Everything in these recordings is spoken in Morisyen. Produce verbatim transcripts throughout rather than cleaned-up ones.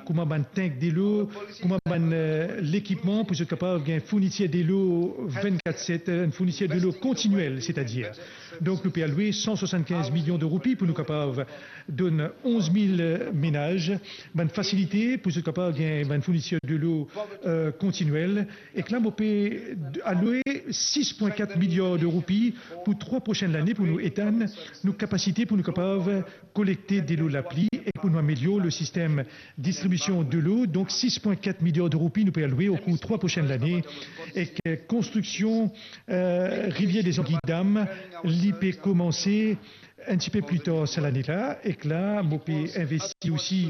kouma bann tank delo, kouma bann, eh, lekipman pou zot kapav gagn fournitir delo vennkat set, enn fournitir delo kontinyel, setadir. Donk, nou pe alwe san swasannkinz milion de roupi pou nou kapav donn onz mil menaz bann fasilite pou zot kapav gagn bann fournitir delo, eh, kontinyel. Ek la, mo pe alwe sis pwin kat miliar de roupi pou trwa prosenn lane pou nou etann nou kapasite pou nou kapav kolekte delo lapli e pou nou amelior le sistem distribision delo. Donk, sis pwin kat miliar de roupi nou pe alwe okour trwa prosenn lane. Ek, eh, konstriksion, eh, Rivière des Anguilles Dames, li pe komanse enn tipe pli tar sa lane la, ek la, mo pe investi osi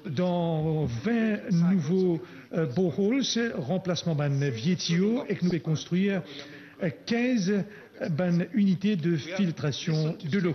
dan vin nouvo, eh, boreholes, ranplasman bann vie tiyo, ek nou pe konstrir, eh, kinz bann inite de filtrasion delo.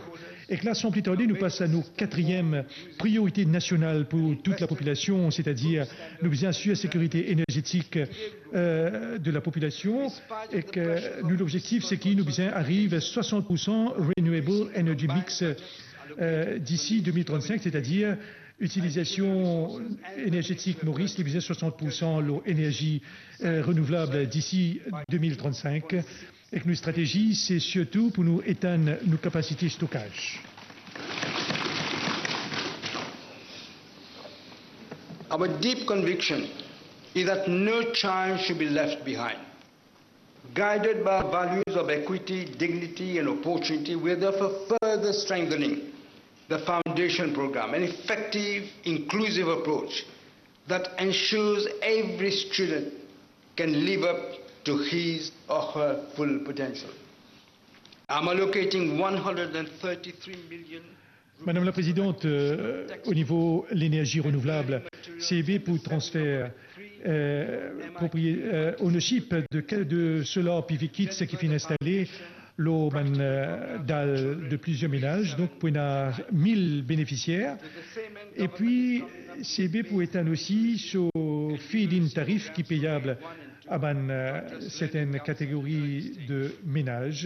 Ek la, san pli tarde, nou pas a nou katriem priorite nasional pou tout lapopilasion, setadir nou bizin asir sekirite energetik, eh, de lapopilasion. Ek, eh, nou lobzektif, se ki nou bizin ariv swasant pour san renewable energy mix, eh, disi de mil trannsink, setadir itilizasion energetik Moris, li bizin swasant pour san lor enerzi, eh, renouvlab disi de mil trannsink. Ek nou stratezi, se sirtou pou nou etann nou kapasite stokaz. Our deep conviction is that no child should be left behind. Guided by values of equity, dignity, and opportunity, we are therefore further strengthening the foundation program, an effective, inclusive approach that ensures every student can live up to his or her full potential. I'm allocating one hundred and thirty-three million. Madame la Présidente, euh, au niveau de l'énergie renouvelable, C E B pou transfer, euh, proprié-, euh, ownership de, de solar P V kits ki finn instale lor bann, euh, dal de plizier menaz, donk pou ena mil benefisier. Epi, C E B pou etann osi so feed-in tarif ki peyab a bann, euh, sertenn kategori de menaz.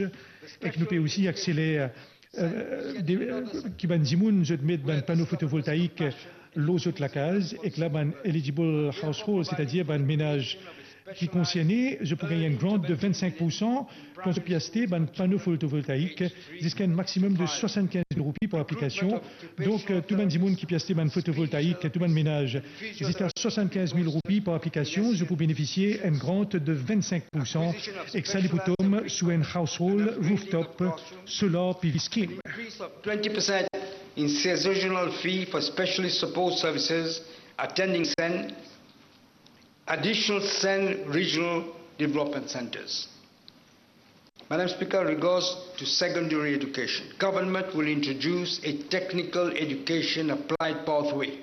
Ek nou pe osi akseler, euh, de, euh, ki bann dimoun zot met bann pano fotovoltaik lor zot lakaz, ek la bann eligible household, setadir bann menaz ki konserne, zot pou gagn enn grant de vennsenk pour san kan zot pe aste bann pano fotovoltaik ziska enn maximum de swasannkinz mil roupi par aplikasion. Donk, euh, tou bann dimoun ki pe aste bann fotovoltaik, tou bann menaz, ziska swasannkinz mil roupi par aplikasion, zot pou benefisie enn grant de vennsenk pour san, ek sa li pou tom sou enn household rooftop solar P V scheme. Increase of twenty percent in seasonal fee for specialist support services attending SEND, additional SEND regional development centers. Madam Speaker, regards to secondary education, government will introduce a technical education applied pathway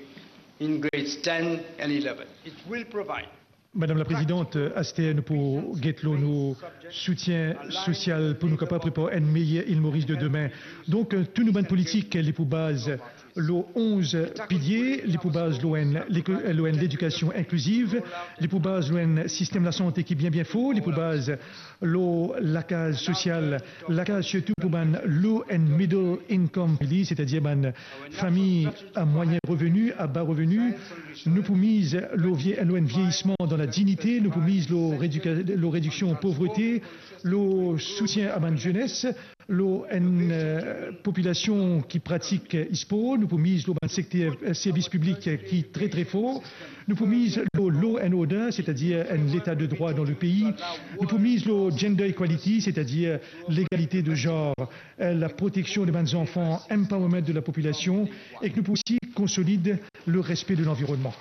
in grades ten and eleven. It will provide Madame la Présidente, aster nou pou get lor nou soutien sosial pou nou kapav prepar enn meyer Ile Maurice de demin. Donk, tou nou bann politik, li pou baz lor onz pilie, li pou baz lor enn leko-, lor enn ledikasion inkliziv, li pou baz lor enn sistem lasante ki bien, bien for, li pou baz lor lakaz sosial, lakaz sirtou pou bann low and middle income family, setadir bann fami a mwayin reveni, a ba reveni. Nou pou miz lor vie-, lor enn vieyisman dan ladignite, nou pou miz lor redika-, lor rediksion povrete, lor soutien a bann zenes, lor enn, eh, popilasion ki pratik, eh, spor, nou pou miz lor bann sekter, eh, servis piblik, eh, ki tre, tre for. Nou pou miz lor law and order, setadir enn leta de drwa dan lepei. Nou pou miz lor gender equality, setadir legalite de zanr, eh, laproteksion de bann zanfan, empowerment de lapopilasion, ek nou pou osi konsolid le respe de lanvironnman.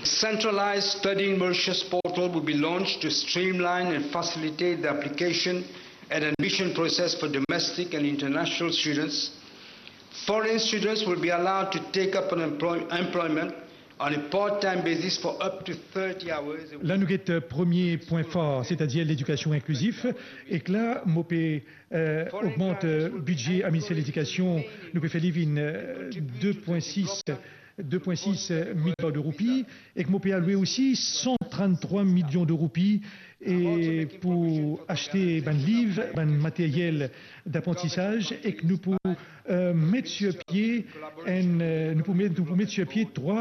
Centralized Studying Mauritius portal will be launched to streamline and facilitate the application and admission process for domestic and international students. Foreign students will be allowed to take up an employ-, employment on a part-time basis for up to thirty hours a week. La nou get, eh, premie pwin far, setadir ledikasion inklizif. Ek la, mo pe, eh, ogmant, eh, bidze a Minister Ledikasion, nou pe fer li vinn, eh, de pwin sis, de pwin sis miliar de roupi, ek mo pe alwe osi san tranntrwa milion de roupi, e pou aste bann liv, bann materyel daprantisaz, ek nou pou, eh, met sir pie enn, eh, nou pou met, nou pou met sir pie trwa